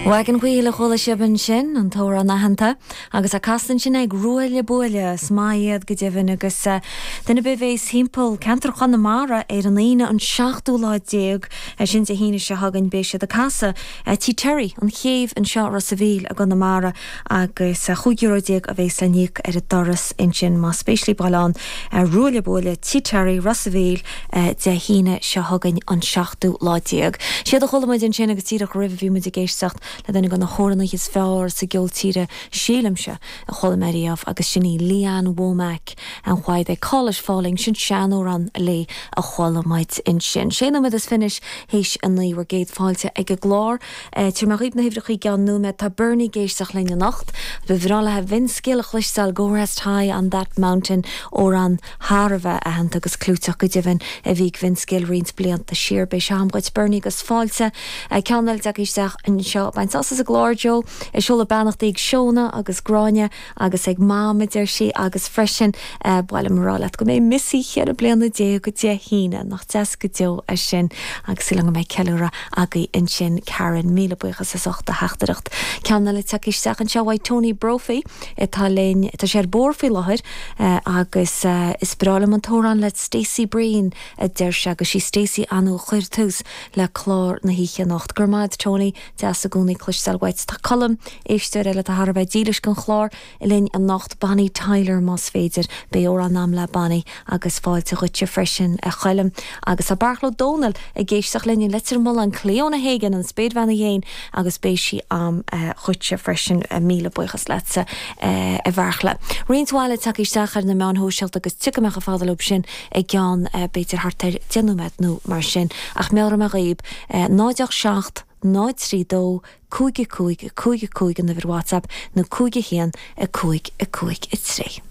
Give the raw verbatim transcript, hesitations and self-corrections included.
Wagon Wheel a chuala sibh ansin an t-amhrán aitheanta agus á casadh ansin ag Ruaille Buaille is maith iad go deimhin agus uh, duine ar bith a bheas timpeall ceantar Chonamara ar an Aoine an seachtú lá déag sin Dé hAoine seo chugainn beidh siad ag casadh uh, Tí Terry an chéibh anseo Ros an Mhíl i gConamara agus uh, chúig euro déag a bheas le n-íoc ar an doras ansin más spéis libh dul ann uh, Ruaille Buaille Tí Terry Ros an Mhíl uh, Dé hAoine seo chugainn an seachtú lá déag. Siad a chuala muid ansin agus díreach roimhe bhí muid ag éisteacht le duine de na hamhránaithe is fearr sa gceol tíre sílimse a chuala mé riamh agus sin í Lee Ann Womack and why they call it falling sin seanamhrán léi a chuala muid ansin. Sé nóiméad is fiche théis a naoi bhur gcéad fáilte ag an gclár Tabharfaidh mé dhaoibh na huimhreacha i gceann nóiméad tá Bernie ag éisteacht linn anocht, Ba bhreá leis Vince Gill a chloisteáil go rest high on that mountain amhrán thar a bheith aitheanta agus clúiteach go deimhin a bhí Vince Gill roinnt blianta siar beidh sé agam dhuit Bernie agus fáilte ceann eile isteach anseo bain sult as an gclár Joe ag seoladh beannachtaí ag Seona agus Gráinne agus ag Mam deir sí agus freisin b'áil liom a rá leat go mbeidh Missy ceithre bliana déag go Dé hAoine nach deas go deo é sin agus súil go mbeidh ceiliúradh agaibh ansin Karen míle buíochas as ucht do theachtaireacht. Ceann eile isteach anseo uaidh Tony Brophy atá linn tá sé ar bóthar faoi láthair agus is breá liom an t-amhrán le Stacey Breen a deir sé agus sí Stacey a chuir tús le clár na hoíche anocht. Gur maid Tony deas i gcónaí cloisteáil uait Tá Colm éisteoir eile thar a bheith dílis don chlár linn anocht Bonnie Tyler más féidir beidh amhrán agam le Bonnie agus fáilte dhuitse freisin a Choilm agus tá Beartla Dónal ag éisteacht linn i Leitir Mealláin Cleona Hagan an spéirbhean féin agus beidh sí agam dhuitse freisin míle buíochas leatsa a Bheartla. Roinnt mhaith tagtha isteach ar na meáin shóisialta agus tiocfaidh mé chomh fada leo sin i gceann b'fhéidir thart ar deich nóiméad nó mar sin ach meabhróidh mé dhaoibh náid seacht náid trí dó cúig cúig cúig cúig an uimhir WhatsApp nó cúig a haon a cúig a cúig a trí.